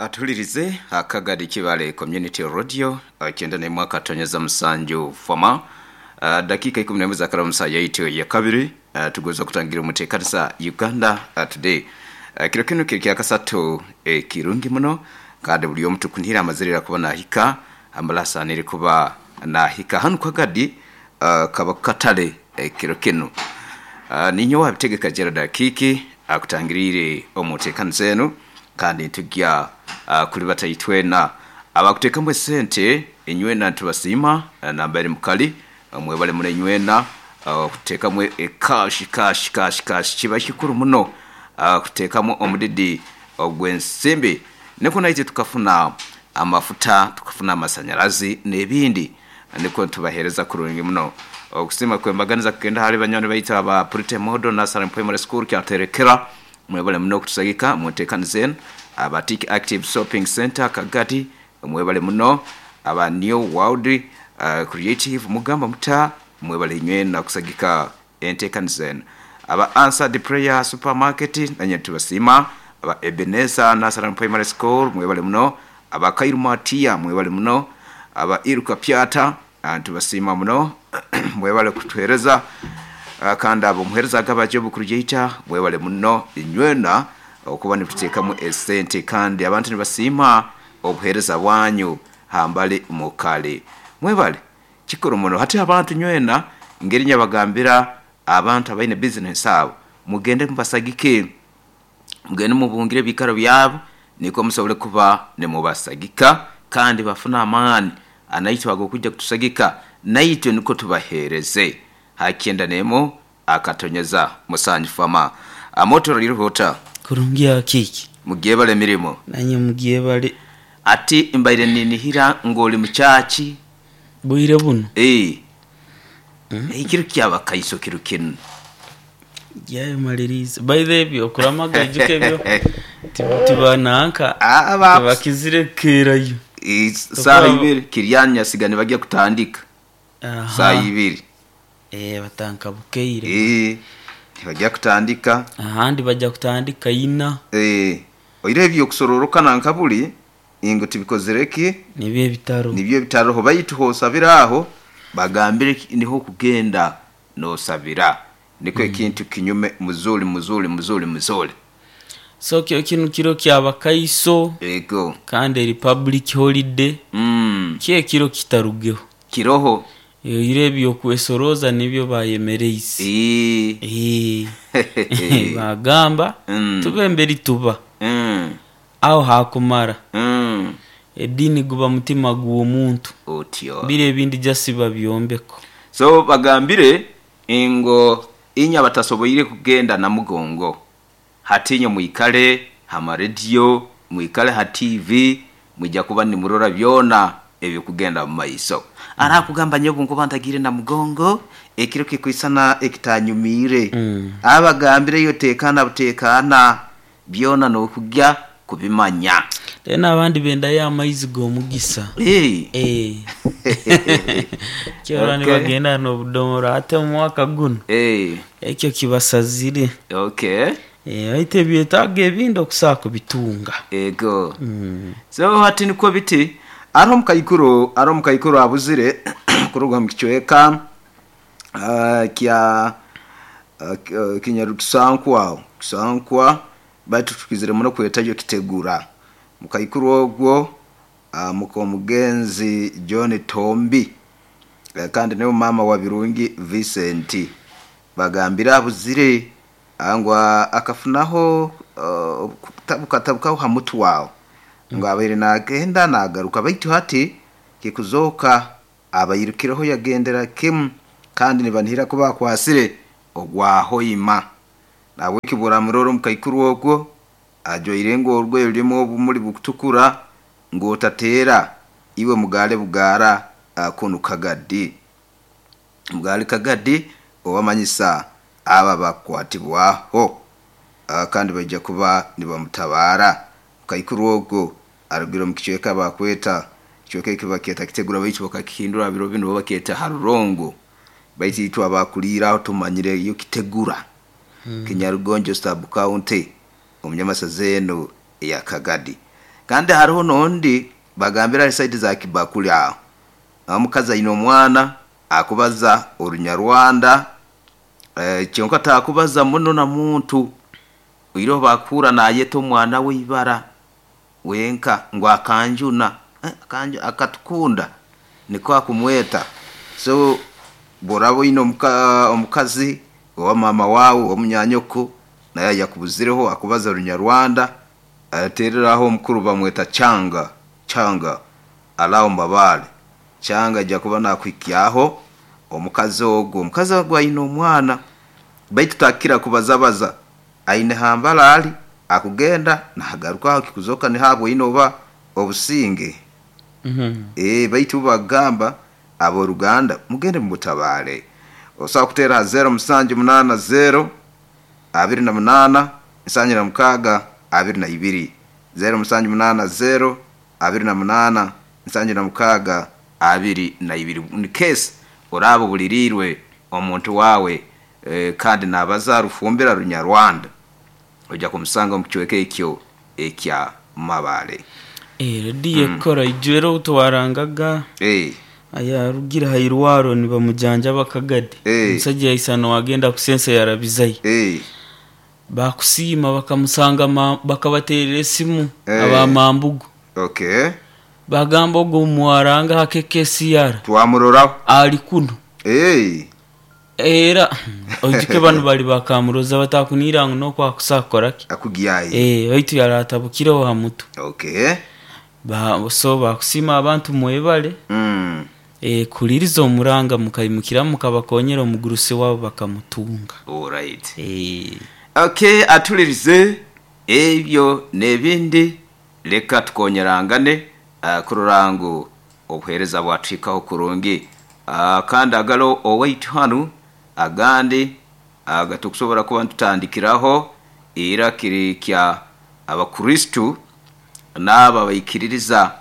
Atuhulirize Akagadi Kibale Community Radio 91.7 fama. Dakiika 11 zaakala mu saaha yaitu eyakabiri, tugonza okutangira omu teekanisa Uganda Today. Kiro kinu kiri kyakasatu ekirungi muno kandi buli omu tukunihira amazire ira kuba naahika amale asaaniire kuba naahika hanu Kagadi kaba katale ekiro kinu. Niinye owaabitegeka Gerald Akiiki akutangiriire omu nteekaniza enu. Kandi nitugya kulibata itwena abakuteekamu esente, inywena nitubasiima nambere mukali, mwebale muno inywena okuteekamu ekashi, kashi, kashi, kashi, kiba kikuru muno kuteekamu omudidi ogw'ensimbi nikwo naitwe tukafuna amafuta, tukafuna amasanyarazi n'ebindi nikwo nitubaheereza kurungi muno. Okusiima kw'embaganiza kugenda hali banywani baitu aba Pretty Model Nursery and Primary School Kyaterekera. Mwebale muno okutusagika mu ntekaniza eno. Aba Tik Active Shopping Centre Kagadi mwebale muno. Aba New World Creative mugamba muta? Mwebale inywena okusagika entekaniza eno. Aba Answered Prayer Supermarket nanye nitubasiima. Aba Ebenezer Nursery and Primary School mwebale muno. Aba Kairu Matia mwebale muno. Aba Iruka Pyata Nitubasiima muno mwebale kutuhereza kandi abo omuhereza agaba Job Kurujaita mwebale muno inywena okuba nituteekamu esente kandi abantu nibasiima obuhereza bwanyu hambali mukali mwebale kikuru muno. Hati abantu nywena ngeri nyabagambira abantu abaine bizinesi abo mugende mubasagike. Mugende mubungire ebiikaro byabo nikwo musobole kuba nimubasagika kandi bafune amaani anaitwe ag'okwija kutusagika naitwe nukwo tubaheereze. Ha kyenda n'emu akatonyeza musanju fama. Amoto oriho ota? Kurungi Akiiki. Mugyebale emirimo. Nanye mugyebale. Ati mbaire ninihira ngu oli mu kyaki. Bwire buno? Ee. Ekiro ky'Abakaiso kiro kinu. Byayemaliriize. By the way, okuramaga ijuka ebyo tibananka tibakizire kukeerayo. Saaha ibiri Kiriani Nyasiga nibagya kutandika saaha ibiri. Eeh batandika bukeire. Eeh nibagya kutandika. Ahandi bagya kutandika ina. Eeh oihireho eby'okusororokana nka buli Ingo tibikozire ki? Nibyo ebitaroho. Nibyo ebitaroho baitu h'osabira aho bagambire ki niho okugenda n'osabira nikwo ekintu kinyume muzuri muzuri muzuri muzuri. So kyo kinu kiro kya bakaiso Ego. kandi eri public holiday kyo ekiro kitarugeho. Kiroho. Oihireho eby'okwesorooza nibyo baayemereize. Eeh. Eeh. Baagamba tube mberi tuba. Agho haakumara, ediini guba mutima gw'omuntu, Otyo. bire ebindi just babyombeko. So bagambire ngo inywe abatasoboire kugenda Namugongo, hati inywe mwikale ha marediyo, mwikale ha tiivi, mwija kuba nimurora byona ebirikugenda mu maiso. Arakugamba nyowe obunkuba ntagiire Namugongo, ekiro kikwisana ekitanyumiire. Abagambire iwe teekaana buteekaana. Byona n'okugya kubimanya. Then abandi bendayo amaizi g'omugisa. Eeh. Kyora Okay. nibagenda n'obudomora ate omu mwaka guno Eeh. ekyo kibasazire. Okay. Baitu ebyetaago ebindi okusobola kubitunga. Ego. So hati nikwo biti, hariho omukaikuru, hariho omukaikuru abuzire kuruga mu kicweka kya Kinyarukisankwa agho, Kisankwa baitu tukizire muno kwetayo Kitegura. Mukaikuru ogwo muka omugenzi John Tombi kandi niwe maama wa Birungi Vincent. Bagambire abuzire ngu akafunaho okutabukaho ha mutwe agho ngu abaire nagenda nagaruka baitu hati kikuzooka Abairukireho yagendera kimu kandi nibanihira kuba akwasire ogwa Hoima. Nahabweki bw'oramurora omukaikuru ogwo ajwaire ngu orugoye rurimu obumuli bukutukura ngu otateera iwe mugaale bugaara kunu Kagadi. Mugaale Kagadi obamanyisa abo abakukwatibwaho kandi baija kuba nibamutabaara. Mukaikuru ogwo arugire omu kicweka bakweta, ekicweka eki bakyeta Kitegura baitu bakakihindura ha biro binu bo bakyeta Harurongo. Baitu itwe abakuliire aho tumanyire yo Kitegura, Kinyarugonjo Sub County omu nyamasaza enu eya Kagadi. Kandi hariho n'ondi bagambira hari saidi za Kibakuli aho. Omukazi aine omwana akubaza Orunyarwanda, kyonka takubaza muno na muntu. Oihireho bakuhurra naayeta omwana we ibara wenka ngu akanjuna, akatukunda nikwo akumweta. So obu oraaba oine omukazi oba maama waawe oba munyanyoko nawe ayakubuzireho akubaza Orunyarwanda, tererraho omukuru bamweta Changa, Changa ali aho Mbabale. Changa aija kuba naakuhikyaho omukazi ogu. Omukazi ogu aine omwana baitu takukira kubazabaza, aine hambara ali, akugenda naagarukaho kikuzooka niho aboine oba obusinge. Baitu ubo bakugamba ab'oruganda mugende mumutabaale. Osobola kuteera ha 0780 28 76 22, 0780 28 76 22. In case oraaba obuliriirwe omuntu waawe kandi naabaza Rufumbira Runyarwanda, oija kumusanga omu kicweka ekyo ekya Mabale. Rediyo ekukora ijwire ou twarangaga ayarugire ha irwaro nibamujanjaba Kagadi. Omusaija yaisana owagenda kusensa yarabizayo. Bakusiima bakamusanga bakabaterera esimu aba Mambugu. Bagamba ogu oumwaranga ha KKCR Twamuroraho. Ali kunu. Era oijuke banu bali bakamuroza batakunira ngu nokwo akusa kukora ki? Akugyayo. Baitu yaratabukireho ha mutwe. So bakusiima abantu mwebale kuhuliriza omuranga mukaimukiramu mukabakonyera omugurusi wabo bakamutunga. Alright. Okay, atulirize ebyo n'ebindi, leka tukonyerangane kurora ngu obuheereza bwatuhikaho kurungi. Kandi agalo owaitu hanu agandi agatukusobora kuba nitutandikiraho ira kiri kya Abakristo n'abo abaikiririza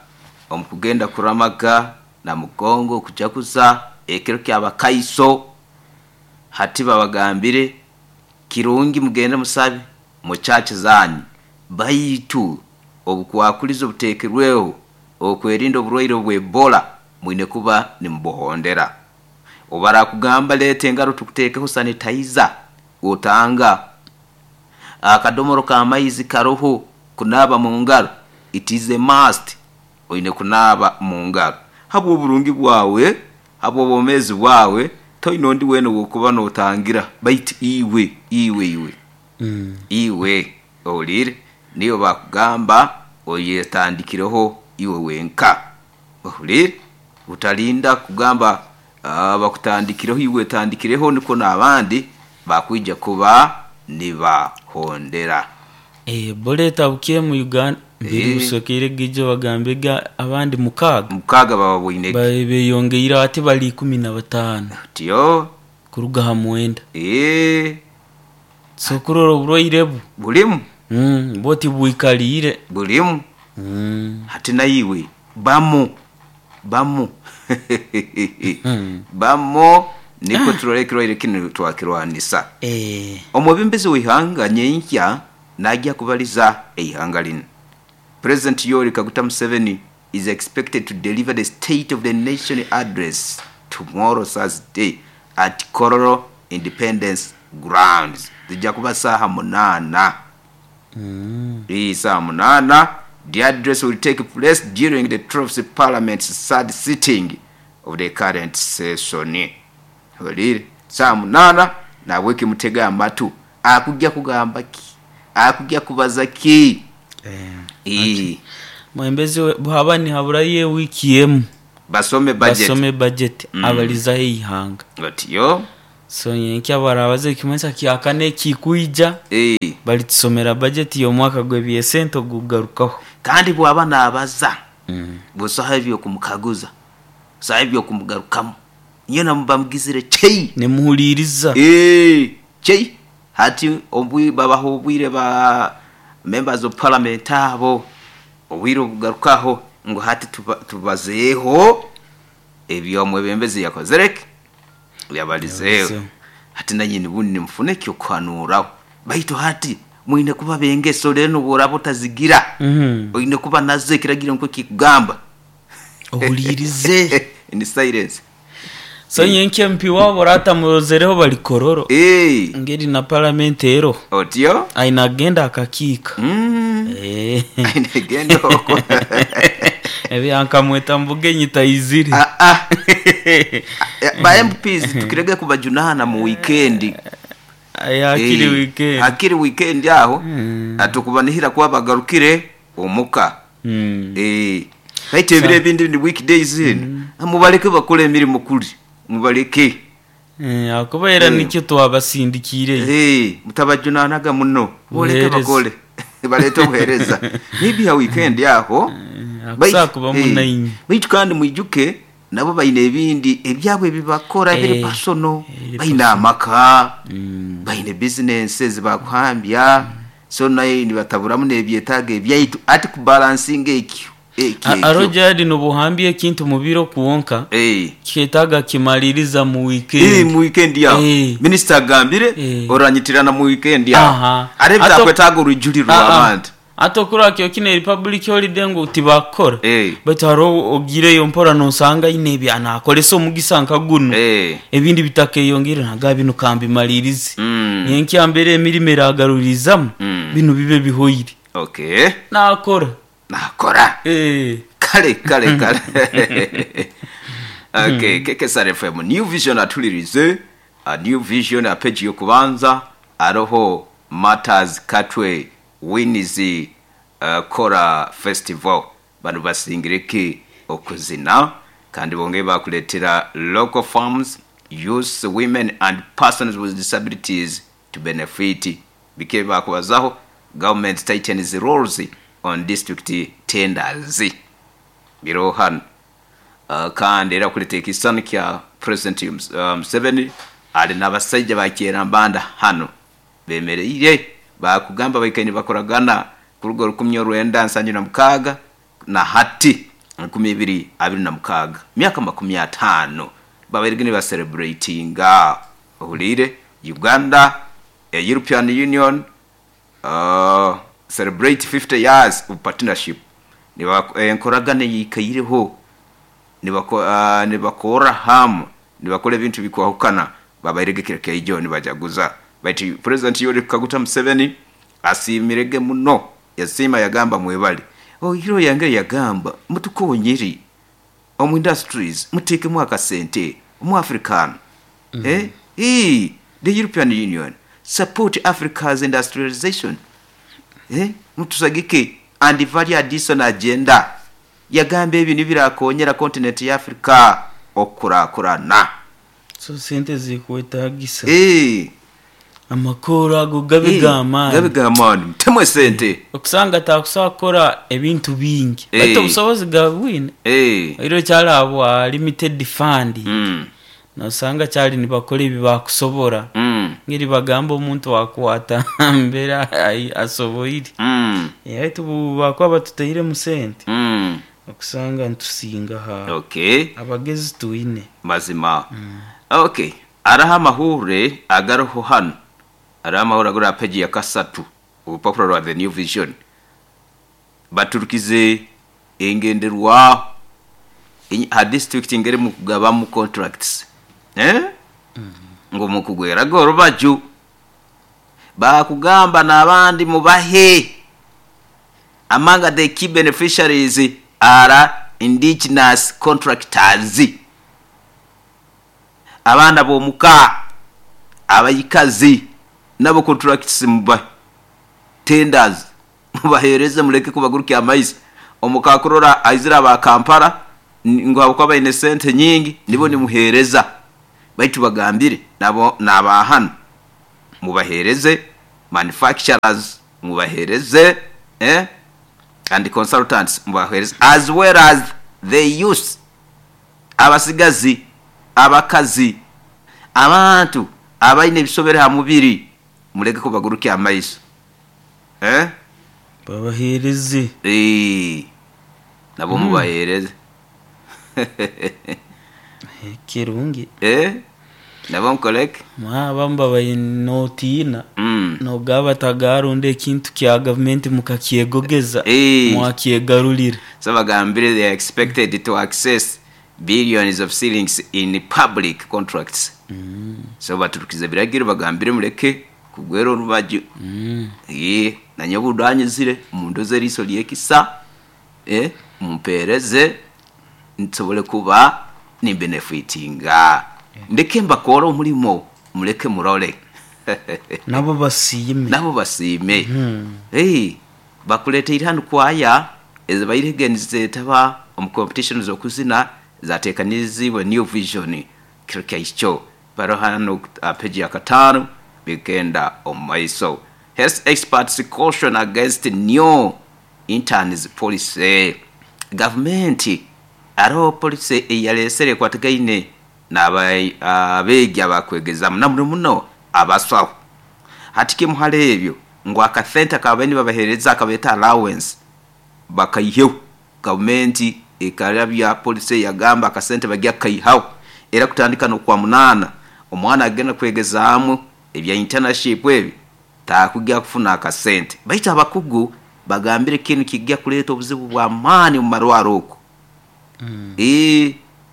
omu kugenda kuramaga na mugongo kujaguza ekiro ky'Abakaiso. Hati babagambire kirungi mugende musabe mu church zanyu, baitu obukwakulizo obuteekerweho okwerinda oburwaire obw'Ebola mwine kuba nimubuhondera. Obu barakugamba leeta engaro tukuteekeho sanitizer, otanga. Akadomoro k'amaizi karoho kunaaba mu ngaro, it is a must, oine kunaaba mu ngaro. Habw'oburungi bwawe, habw'obwomeezi bwawe, toine ondi weena ow'okuba n'otangira baitu iwe, iwe, iwe. Iwe ohuliire, niiwe bakugamba oyetandikireho iwe wenka. Ohuliire? Otalinda kugamba bakutandikireho, iwe wetandikireho nikwo n'abandi bakwija kuba nibahondera. Ebola etabukire mu Uganda mbiri busokeire gaijo bagambe ga abandi mukaaga. Mukaaga bababoine ki? Beyongeire ati bali 15. Otyo. Kuruga ha mwenda. So kurora oburwaire bwo. Bulimu. Bwo tibwikaliire. Bulimu. Hati naiwe bamu, bamu, bamu nikwo turole ekirwaire kinu twakirwanisa. Omwebembezi w'eihanga nyenkya naija kubaliza eihanga linu. President Yoweri Kaguta Museveni is expected to deliver the State of the Nation Address tomorrow Thursday at Kololo Independence Grounds. Zija kuba saaha munaana. Saaha munaana. The address will take place during the 12th Parliament's third sitting of the current session. Oliire? Saaha munaana, nahabweki mutege amatu. Akugya kugamba ki? Akugya kubaza ki? Mwembezi bwaba nihaburayo ewiiki emu Basome budget. Basome budget abalizaho eihanga. Otyo. So nyenkya barabaza ekimanyisa kyakana ekikwija baritusomera budget y'omwaka gw'ebyesente ogukugarukaho. Kandi bwaba nabaza, busaho eby'okumukaguza, busaho eby'okumugarukamu. Nyowe muba mugizire chei. Nimuhuliriza. Chei. Hati babaha obwire ba members of parliament abo, obwire obugarukaho ngu hati tubazeeho eby'omwebembezi yakozire ki? Yabalizeeho. Hati nanye bundi nimufuna eky'okuhanuuraho. Baitu hati. Mwine kuba bengeso rero nobworaba otazigira, oine kuba nazo ekiragiro nikwo kikugamba. Ohuliirize. In silence. So nyenki MP waabo oratamurozereho bali Kololo. Ngeri na parliament eroho. Otyo? Aine agenda akakiika. Aine genda okwo. Ebyankamweta mubugenyi taizire. Ah, ah. Ba MPs tukirege kubajunana mu weekend. Hakiri weekend. Hakiri weekend aho. Atukubanihira kuba bagarukire omuka. Baitu ebiro ebindi ni weekdays zinu. Mubaleke bakole emirimu kuli. Mubaleke. Akuba era nikyo twabasindikiire. Mutabajunanaga muno. Boleke bakole. Balete obuhereza. Maybe ha weekend aho. Akusakuba munainyi. Baitu kandi mwijuke nabo baine ebindi ebyabwe ebibakora biri personal. Baine amaka. Baine businesses bakuhambya. So naye nibataburamu n'ebyetaago ebyaitu ati kubalansinga ekyo. Arojadi nobuhambya ekintu mubiro kwonka kiketaaga kimaliriza mu weekend. Mu weekend yaho. Minister agambire oranyitirana mu weekend yaho. Are bitakwetaaga orujulirwa abantu. Ate okurora kyo kino eri public holiday ngu tibakukora. Baitu hariho ogiireyo mpora nosanga aine ebi nakoresa omugisa nka guno. Ebindi bitakeyongeire nagamba binu kambimalirize. Nyenkya mbere emirimo eragarurizamu binu bibe bihoire. Nakora. Nakora. Kale kale kale. Okay, KKSR FM New Vision atulirize. New Vision a page yokubanza aroho Matters Katwe wins Kora Festival. Bano basingireki okuzina kandi bonge bakuletera local farms, youth, women and persons with disabilities to benefit. Bike bakubazaho government tightens rules on district tenders. Biro hano. Kandi era kuleta ekisani kya President Museveni ali n'abasajja bakyerambanda hano bemereire bakugamba baikaine bakoragana kuruga 1976 na hati 2026 myaka 50 babairege nibacelebratinga. Ohuliire Uganda European Union celebrate 50 years of partnership. Enkoragana eyikaireho nibakora hamu nibakora ebintu bikwahukana babairege kiro kyaijo nibajaguza. Baitu President Yoweri Kaguta Museveni asiimirege muno, yasiima yagamba mwebale. Oiro yange yagamba mutukonyere omu industries mutekemu akasente omu African. The European Union support Africa's industrialization. Mutusagike and value addition agenda. Yagamba ebyo nibirakonyera continent ya Africa okukurakurana. So sente zikwetagisa. Amakoro ago gabe g'amaani. Gabe g'amaani. Mutemwe sente. Okusanga takusobola kukora ebintu bingi. Baitu obusobozi gabwine. Oiro kyali habwa limited fund. Nosanga kyali nibakora ebi bakusobora. Ngeri bagamba omuntu akwata mbere asoboire. Baitu bakuba batutairemu sente. Okusanga nitusinga ha. Abagezi twine. Mazima. Okay. Araho amahure agaroho hano. Araho amahuri agari aha peji ya kasatu obupapura rwa The New Vision. Baturukize engenderwaho ha district ngeri mukugabamu contracts. Ngu mukugweraga orubaju. Bakugamba n'abandi mubahe. Among the key beneficiaries are indigenous contractors. Abaana b'omuka, abaikazi nabo contracts mubahe. Tenders mubahereze muleke kubagurukya amaiso. Omuka kurora aizira aba Kampala ngu habwokuba baine sente nyingi nibo nimuhereza. Baitu bagambire nabo n'abahano mubahereze manufacturers mubahereze and consultants mubahereze as well as the youth, abasigazi, abakazi, abantu abaine ebisobere ha mubiri muleke kubagurukya amaiso. Babahereze. Nabo mubahereze. Kirungi. Nabo nkoleke. Abamu babaire notiina nogaba tagarunda ekintu kya gavumenti mukakyegogeza, mwakyegarurira. So bagambire they are expected to access billions of shillings in public contracts. So baturukize ebiragiro bagambire muleke kugwera orubaju. Nanye obundanyizire mundoze eriiso ry'ekisa, mumpeereze nsobole kuba nimbenefitinga. Ndeke mbakore omurimo muleke murole. Nabo basiime. Nabo basiime. Bakuleteire hanu kwaya ezibaire nizetaba omu competition z'okuzina zatekaniriziibwe New Vision kiro kyaikyo. Baro hanu aha page ya kataano bigenda omu maiso. Health experts caution against new interns policy. Gavumenti hariho policy ei yareetsire ekwatagaine n'abeegi abakwegezamu na muno muno abasaho. Hati kimu hari ebyo ngu akasente akababaire nibabaheereza akabeeta allowance bakaiheho. Gavumenti ekarabya policy yagamba akasente bagya kukaihaho era kutandika n'Okwamunaana omwana agenda kwegezaamu ebya internship ebi taakugya kufuna akasente. Baitu abakugu bagambire kinu kigya kuleeta obuzibu bw'amaani omu marwaro oku.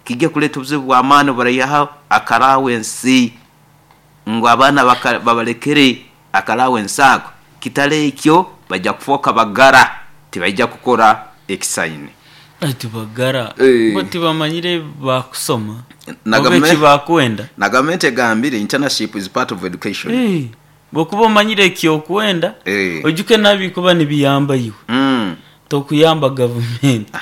Kigya kuleeta obuzibu bw'amaani obu baraihaho akarawensi ngu abaana babalekere akarawensi ako, kitari ekyo baija kufooka bagara tibaija kukora ekisaine. Baitu bagara bo tibamanyire ebi baakusoma oba eki baakwenda. Na gavumenti egambire internship is part of education. Bw'okuba omanyire eki okwenda, oijuke n'abikuba nibiyamba iwe, tokuyamba gavumenti.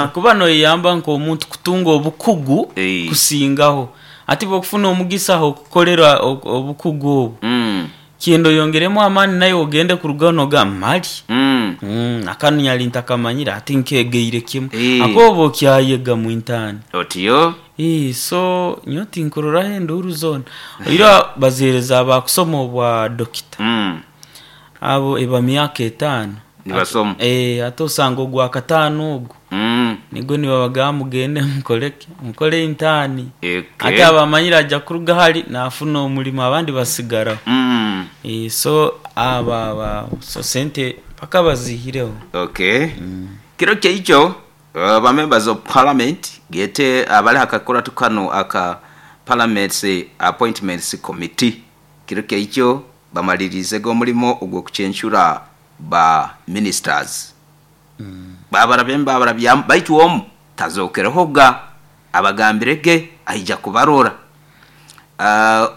Okuba noyeyamba nk'omuntu kutunga obukugu kusingaho. Hati bw'okufuna omugisa ah'okukorera obukugu obwo, kyenda oyongeremu amaani naiwe ogende kurugaho nogamba mali akanu nyali ntakamanyire hati nkegeire kimu. Ahakuba oba okyayega mwintaani. Otyo. So nyowe tinkuroraho enduuru zoona. Oihireho baziheereza abakusoma obwa dokita. Abo eba myaka etaano. Nibasoma. Ate osanga ogwa kataano ogwo nigwo nibabagamba mugende mukole ki? Mukole intaani. Ate aba amanyire aja kuruga hali nafuna omurimo abandi basigaraho. So abo abo so sente mpaka baziihireho. Okay. Kiro kyaikyo Ba members of parliament gete abali aha kakurato kanu aka Parliament's Appointments Committee kiro kyaikyo bamaliriize ge omurimo ogw'okucencura ba ministers. Babarabyamu babarabyamu baitu omu tazokerehoga abagambire ge aija kubarora.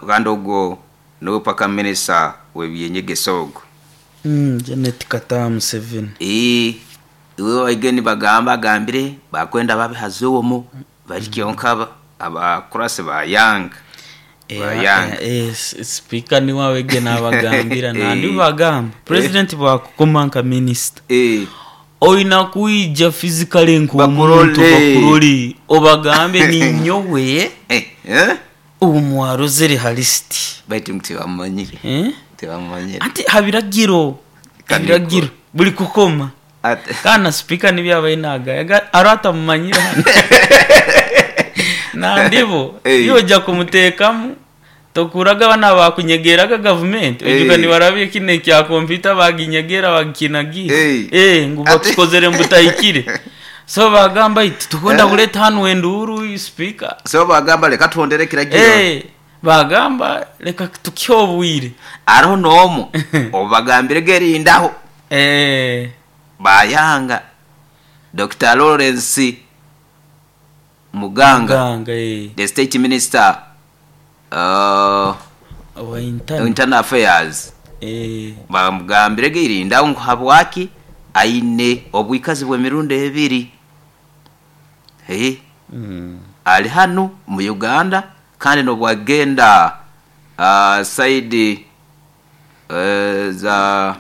Kandi ogwo Niwe paka minisita w'eby'enyegesa ogu. Janet Kataha Museveni. Ii, Iwe waige nibagamba agambire bakwenda babe haza omu bari kyonka abakurasi ba Yanga. Ba Yanga. Sipiika niwe awege nabagambira nandi bagamba purezidenti bwakukoma nka minisita oina kwija fizikale nk'omuntu bakurole obagambe ninyowe Oumwarozere ha lisiti. Baitu ngu tibamumanyire. Tibamumanyire. Anti ha biragiro, ebiragiro buli kukoma. Kandi na sipiika nibyo abaire nagaya, hariho atamumanyire hanu. Nandi bo, iwe oja kumuteekamu, tokuraga banu abakunyegeraga gavumenti, oijuka nibarabya kinu ekya kompyuta baginyegera bagikinagiire, ngu bakikozere ngu butahikire. So bagamba iti titukwenda kureeta hanu enduuru sipiika. So bagamba leka tuhondere ekiragiro. Bagamba leka tukihe obwire. Hariho n'omu oubagambire gerindaho. Bayanga. Dokita Lawrence Muganga, the state minister Owa internal. Internal Affairs. Bamugambire geirindaho ngu habwaki aine obwikazi bw'emirundi ebiri. Ali hanu mu Uganda kandi n'obwagenda side za.